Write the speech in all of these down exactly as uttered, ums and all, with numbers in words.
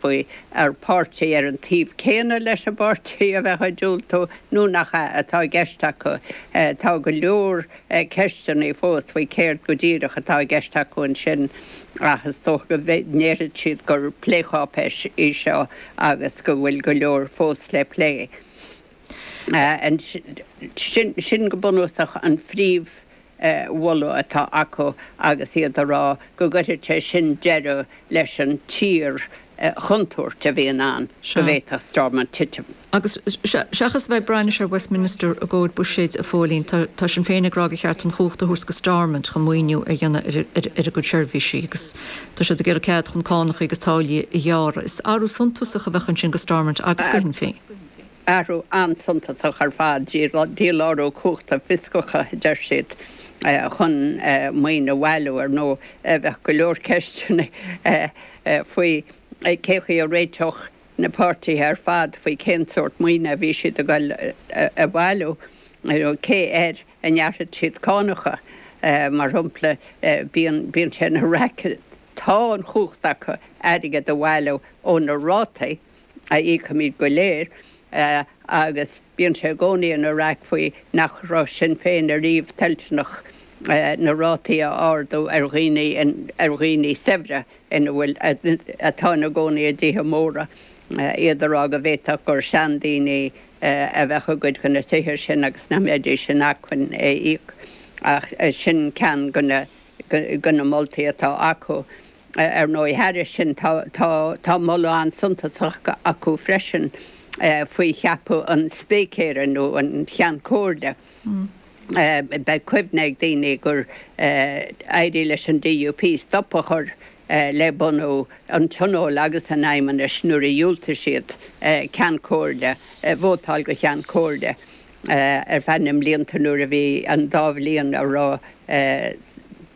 Faoi ar páirtí ar an taobh céanna leis an bpáirtí a bheadh ag diúltú nó nach ea atá i gceist acu. Tá go leor ceisteanna fós faoi céard go díreach atá i gceist acu ansin ach is dócha go ndéarfaidh siad gur plécháipéis í seo agus go bhfuil go leor fós le plé. Sin go bunúsach an phríomh mholadh atá acu agus iad a rá go gcuirfidh sé sin deireadh leis an tsíor chontúirt a bhíonn ann go bhféadfadh Stormont titim. Agus seachas a bheith ag brath anois ar Westminster i gcomhair buiséid, a Phóilín, tá Sinn Féin ag rá gur cheart an chumhacht a thabhairt go Stormont chun maoiniú a dhéanamh ar a gcuid seirbhísí agus tá siad ag iarraidh cead chun cánacha agus táillí a ghearradh. Is athrú suntasach a bheadh ansin go Stormont agus go Shinn Féin. Athrú an-suntasach ar fad, dílárú cumhachta fioscacha, a deir siad, chun maoin a bhailiú. Ar ndóigh, bheadh go leor ceisteanna faoi cé chaoi a réiteodh na páirtithe ar fad faoi cén sórt maoine a bhí siad ag dul a bhailiú, cé air a ngearrfaidh siad cánacha, mar shampla. Bíonn bíonn sé ina raic, tá an chumhacht acu airgead a bhailiú ó na rátaí a íocaimid go léir agus bíonn sé i gcónaí ina raic faoi nach raibh Sinn Féin ariamh toilteanach na rátaí a ardú ar dhaoine ar dhaoine saibhre ina bhfuil atá ina gcónaí i dtithe móra, iad a rá go bhféadfadh gur seandaoine a bheadh i gcuid de na tithe sin agus nach mbeidís in acmhainn é a íoc. Ach sin ceann de na de na moltaí atá acu. Ar ndóigh, thairis sin tá tá tá moladh an-suntasach acu freisin faoi cheapadh an spícéara nó an Cheann Comhairle. Beidh cuimhne ag daoine gur éirigh leis an D U P stop a chur le bunú an Tionóil agus an Fheidhmeannais nuair a dhiúltaigh siad Ceann Comhairle, vótáil do Cheann Comhairle ar feadh na mblianta nuair a bhí an dá bhliain a raibh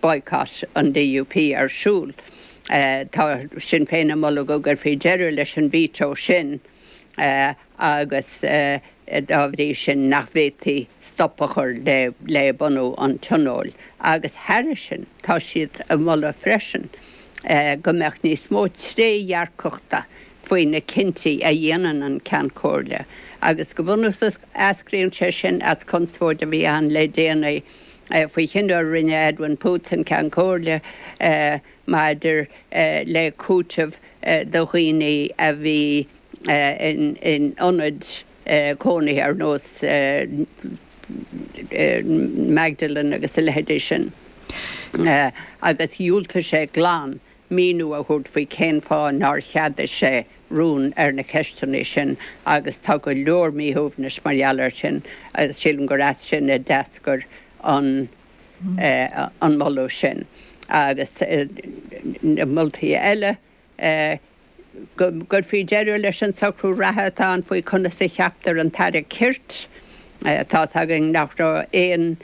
boycott an D U P ar siúl. Tá Sinn Féin ag moladh go gcuirfí deireadh leis an veto sin agus dá bhrí sin nach bhféadfaí stop a chur le le bunú an Tionóil. Agus thairis sin tá siad ag moladh freisin go mbeadh níos mó trédhearcachta faoi na cinntí a dhéanann an Ceann Comhairle, agus go bunúsach eascraíonn sé sin as conspóid a bhí ann le déanaí faoi chinneadh a rinne Edwin Poots, an Ceann Comhairle, maidir le cúiteamh do dhaoine a bhí in in ionaid cónaithe ar nós Magdalene agus a leithéidí sin, agus dhiúltaigh sé glan míniú a thabhairt faoi cén fáth nár cheadaigh sé rún ar na ceisteanna sin, agus tá go leor míshuaimhnis mar gheall air sin agus sílim gur as sin a d'eascair an an moladh sin. Agus na moltaí eile, go gcuirfí deireadh leis an socrú reatha atá ann faoi conas a cheaptar an tAire Cirt. Tá's againn nach raibh aon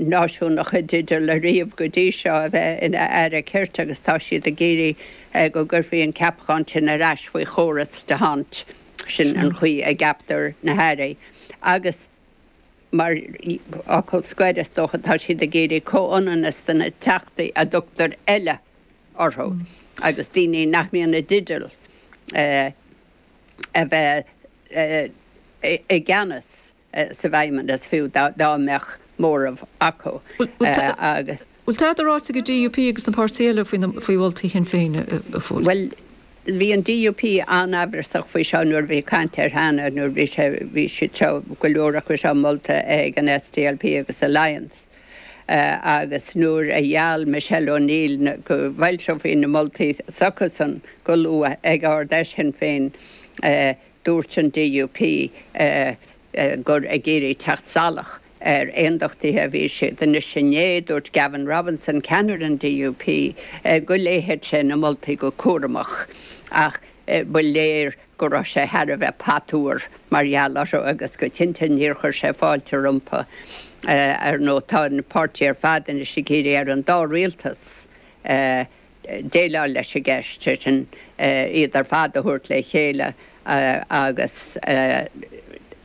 náisiúnach i dteideal ariamh go dtí seo a bheith ina Aire Cirt agus tá siad ag iarraidh go gcuirfí an ceapachán sin ar ais faoi chóras d'Hondt, sin an chaoi a gceaptar na hairí. Agus mar fhocal scoir, is dócha, tá siad ag iarraidh comhionannas do na teachtaí a dtugtar "eile" orthu agus daoine nach mbíonn i dteideal a bheith i gceannas sa bhFeidhmeannas fiú dá mbeadh móramh acu agus. Bhfuil tada ráite ag an D U P agus na páirtithe eile faoi mholtaí Shinn Féin, a Phóilín? Bhuel, bhí an D U P an-amhrasach faoi seo nuair a bhí caint air cheana, nuair bhí sé bhí siad seo, go leor acu seo molta ag an S D L P agus Alliance. Agus nuair a gheall Michelle O'Neill go bhfoilseofaí na moltaí s'acusan go luath ag Ard-Fheis Shinn Féin, dúirt an D U P gur ag iarraidh teacht salach ar aondachtaithe a bhí siad. Anois inné, dúirt Gavin Robinson, ceannaire an D U P, go léifeadh sé na moltaí go cúramach, ach ba léir go raibh sé thar a bheith patuar mar gheall orthu agus go cinnte níor chuir sé fáilte rompu. Ar ndóigh, tá na páirtithe ar fad anois ag iarraidh ar an dá rialtas déileáil leis an gceist, sé sin iad ar fad a thabhairt le chéile agus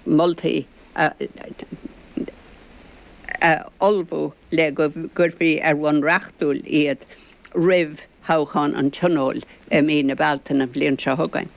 moltaí a ullmhú le go gcuirfí ar bhonn reachtúil iad roimh thoghchán an Tionóil i mí na Bealtaine an bhliain seo chugainn.